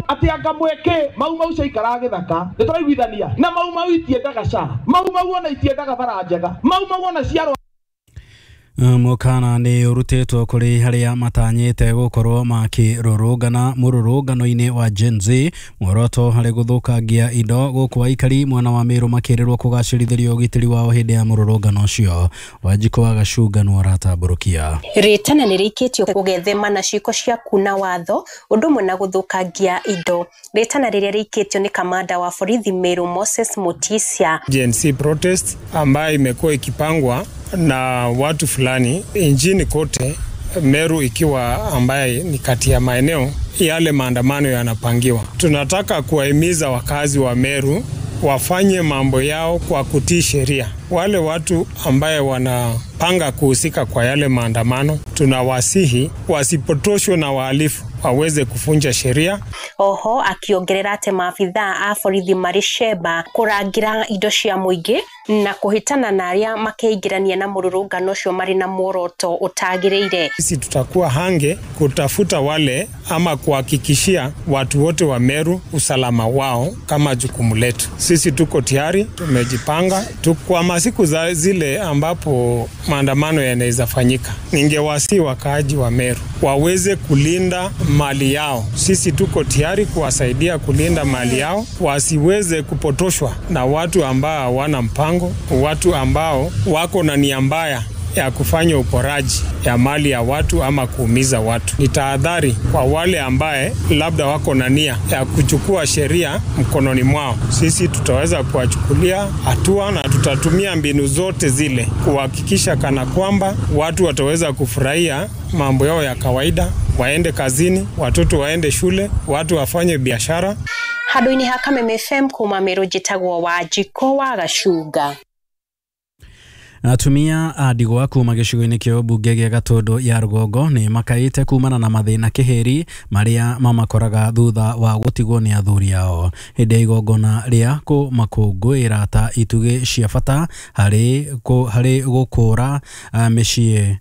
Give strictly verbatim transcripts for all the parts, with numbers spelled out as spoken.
Ati anga mweke mau mau caikara githaka nituraiguithania na mau mau itiendaga ca mau mau ona itiendaga bara njega mau mau ona ciarwa. Mukana nĩ ũrutĩtwo kũrĩ harĩa matanyĩte gũkorwo makĩrũrũngana mũrũrũngano-inĩ wa Gen Z muoroto harĩ gũthũkangia indo gũkũ aikari mwena wa Meru makĩrĩrwo kũgacĩrithĩrio ũgitĩri wao hĩndĩ ya mũrũrũngano ũcio. Wanjikũ wa Gacunga nĩ aratambũrũkia. Rĩtana nĩ rĩikĩtio gũgethema na ciĩko cia kuna watho ũndũ ũmwe na gũthũkangia indo. Rĩtana rĩrĩa rĩikĩtio nĩ kamanda wa borithi Meru Moses Mutisia. Gen Z protest ambayo imekuwa ikipangwa na watu fulani nchini kote, Meru ikiwa ambaye ni kati ya maeneo yale maandamano yanapangiwa. Tunataka kuwahimiza wakazi wa Meru wafanye mambo yao kwa kutii sheria. Wale watu ambaye wanapanga kuhusika kwa yale maandamano, tunawasihi wasipotoshwe na wahalifu waweze kufunja sheria. Oho akiongerera ati maabithaa a borithi marĩ cemba kũrangĩra indo cia mũingĩ na kũhĩtana na arĩa makeingĩrania na mũrũrũngano ũcio marĩ na muoroto ũtagĩrĩire. Sisi tutakuwa hange kutafuta wale ama kuhakikishia watu wote wa Meru usalama wao kama jukumu letu. Sisi tuko tayari, tumejipanga kwa masiku za zile ambapo maandamano yanaweza fanyika. Ningewasi wakaaji wa Meru waweze kulinda mali yao. Sisi tuko tayari kuwasaidia kulinda mali yao, wasiweze kupotoshwa na watu ambao hawana mpango, watu ambao wako na nia mbaya ya kufanya uporaji ya mali ya watu ama kuumiza watu. Ni tahadhari kwa wale ambaye labda wako na nia ya kuchukua sheria mkononi mwao. Sisi tutaweza kuwachukulia hatua na tutatumia mbinu zote zile kuhakikisha kana kwamba watu wataweza kufurahia mambo yao ya kawaida, waende kazini, watoto waende shule, watu wafanye biashara. Handũ-inĩ ha Kameme F M kuma Meru njĩtagwo Wanjikũ wa Gacunga. Atumia a ndigwa kuma gĩcigo-inĩ kĩa ũmbunge gĩa Gatũndũ ya Rũgongo nĩ makaĩte kumana na mathĩna kĩhĩri marĩa mamakoraga thutha wa gũtigwo nĩ athuri ao hĩndĩ ya igongona rĩa kũmakũngũĩra ta itugĩ cia bata harĩ harĩ gũkũra mĩciĩ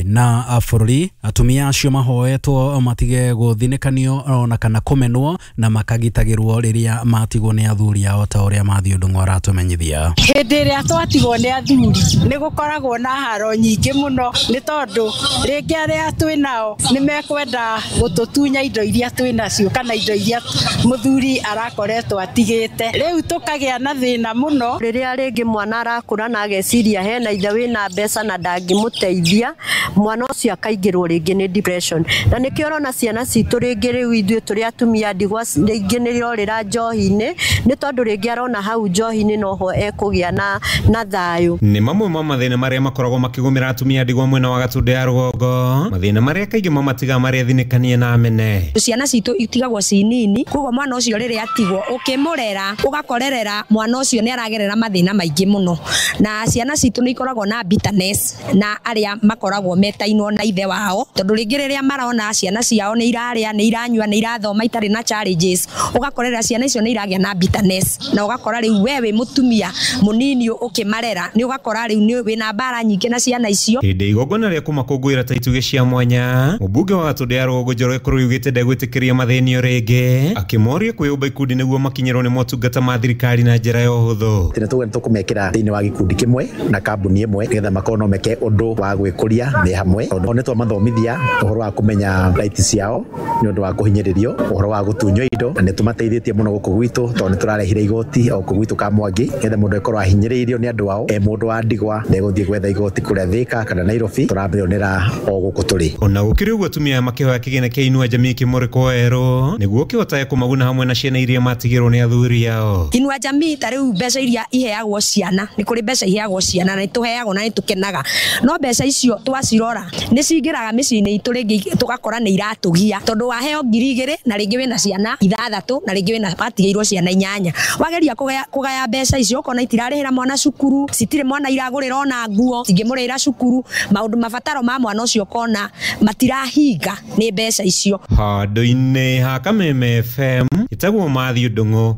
na bũrũri. Atumia acio mahoetwo matige gũthinĩkanio ona kana kũmenwo na makagitagĩrwo rĩrĩa matigwo nĩ athuri ao ta ũrĩa Mathiũ Ndung'u aratũmenyithia. Hĩndĩ ĩrĩa twatigwo nĩ athuri nĩ gũkoragwo na haro nyingĩ mũno, nĩ tondũ rĩngĩ arĩa twĩ nao nĩ mekwenda gũtũtunya indo iria twĩ nacio kana indo iria mũthuri arakoretwo atigĩte. Rĩu tũkagĩa na thĩna mũno. Rĩrĩa rĩngĩ mwana arakũra na ageciria hena ithe wĩna mbeca na ndangĩmũteithia, mwana ũcio akaingĩrwo rĩngĩ nĩ depression. Na nĩkĩo ũrona ciana citũ rĩngĩ rĩu ithuĩ tũrĩ atumia ndigwa rĩngĩ nĩ irorĩra njohi-inĩ, nĩ tondũ rĩngĩ arona hau njohi-inĩ noho ekũgĩa na na thayũ. Nĩ mamwe ma mathĩna marĩa makoragwo makĩgũmĩra atumia ndigwa mwena wa Gatũndũ ya Rũgongo, mathĩna marĩa kaingĩ mamatigaga marĩ athinĩkanie na amene. Ciana citũ itigagwo ci nini, koguo mwana ũcio rĩrĩa atigwo ũkĩmũrera ũgakorerera mwana ũcio nĩ aragerera mathĩna maingĩ mũno, na ciana citũ nĩ ikoragwo na bitterness na arĩa makoragwo metainwo na ithe wao, tondũ rĩngĩ rĩrĩa marona ciana ciao nĩ irarĩa, nĩ iranyua, nĩ irathoma itarĩ na challenges, ũgakorera ciana icio nĩ iragĩa na bitterness, na ũgakora rĩu we wĩ mũtumia mũnini ũkĩmarera nĩ ũgakora rĩu nĩ wĩna mbara nyingĩ na ciana icio. Hĩndĩ igongona rĩa kũmakũngũĩra ta itugĩ cia mwanya, mũmbunge wa Gatũndũ ya Rũgongo Njoroge Kũrũi augĩte ndegwĩtĩkĩria mathĩnio rĩngĩ, akĩmoria kwĩyũmba ikundi nĩguo makinyĩrwo nĩ motungata ma thirikari na njĩra ya ũhũthũ. Tene tũgũthiĩ tũkũmekĩra thĩinĩ wa gĩkundi kĩmwe na kambuni ĩmwe nĩgetha makorwo no meke ũndũ wa gwĩkũria me hamwe. Tondũ nĩ twamathomithia ũhoro wa kũmenya rights ciao nĩ ũndũ wa kũhinyĩrĩrio, ũhoro wa gũtunywo indo, na nĩ tũmateithĩtie mũno gũkũ gwitũ tondũ nĩ tũrarehire igoti o kũ gwitũ Kamwangi nĩgetha mũndũ akorwo ahinyĩrĩirio nĩ andũ ao. E mũndũ wa ndigwa ndegũthiĩ gwetha igoti kũrĩa Thika kana Nairobi, tũramĩonera o gũkũ tũrĩ. Ona gũkĩrĩ ũguo atumia makĩhoya kĩgĩna kĩa Inua Jamii kĩmũrĩko werũ nĩguo kĩhotage kũmaguna hamwe na ciana iria matigĩrwo nĩ athuri ao. Inua Jamii ta rĩu mbeca iria iheagwo ciana, nĩ kũrĩ mbeca iheagwo ciana na nĩ tũheagwo na nĩ tũkenaga, no mbeca icio twacirora nĩ cingĩraga mĩciĩ-inĩ itũ rĩngĩ tũgakora nĩ iratũgia, tondũ waheo ngiri igĩrĩ na rĩngĩ wĩna ciana ithathatũ na rĩngĩ wĩna watigĩirwo ciana inyanya, wageria kũgaya kũgaya mbeca icio ũkona itirarĩhĩra mwana cukuru, citirĩ mwana iragũrĩra ona nguo, cingĩmũrĩhĩra cukuru, maũndũ mabataro ma mwana ũcio ũkona matirahinga nĩ mbeca icio. Handũ-inĩ ha Kameme F M ĩtagwo Mathiũ Ndung'u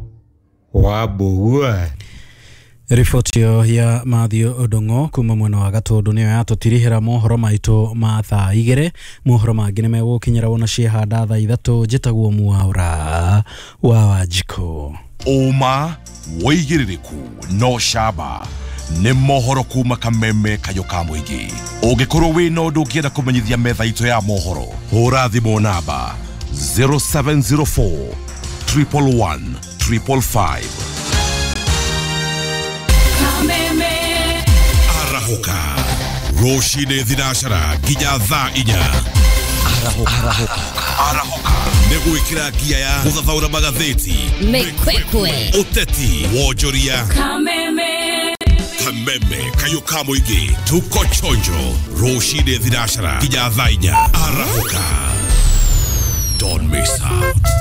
wa Mbũgua. Riboti ĩyo ya Matthew Ndung'u kuma mwena wa Gatũndũ nĩyo yatũtirihĩra mohoro maitũ ma thaa igĩrĩ. Mohoro mangĩ nĩ megũkinyĩra wona ciehanda thaa ithatũ. Njĩtagwo Mwaũra wa Wanjikũ. Ũma wĩigĩrĩrĩku no camba nĩ mohoro kuma Kameme kayũ ka mũingĩ. Ũngĩkorwo wĩna ũndũ ũngĩenda kũmenyithia metha itũ ya mohoro, hũra thimũ namba zero seven zero four triple one triple five. Arahũka rũcinĩ thinacara nginya thaa inya. Arahũka. Arahũka nĩ gwĩkĩra ngia ya gũthathaũra magathĩti, mĩkwekwe, ũteti, wonjoria. Kameme. Kameme kayũ ka mũingĩ, tuko chonjo rũcinĩ thinacara nginya thaa inya. Arahũka, don't miss out.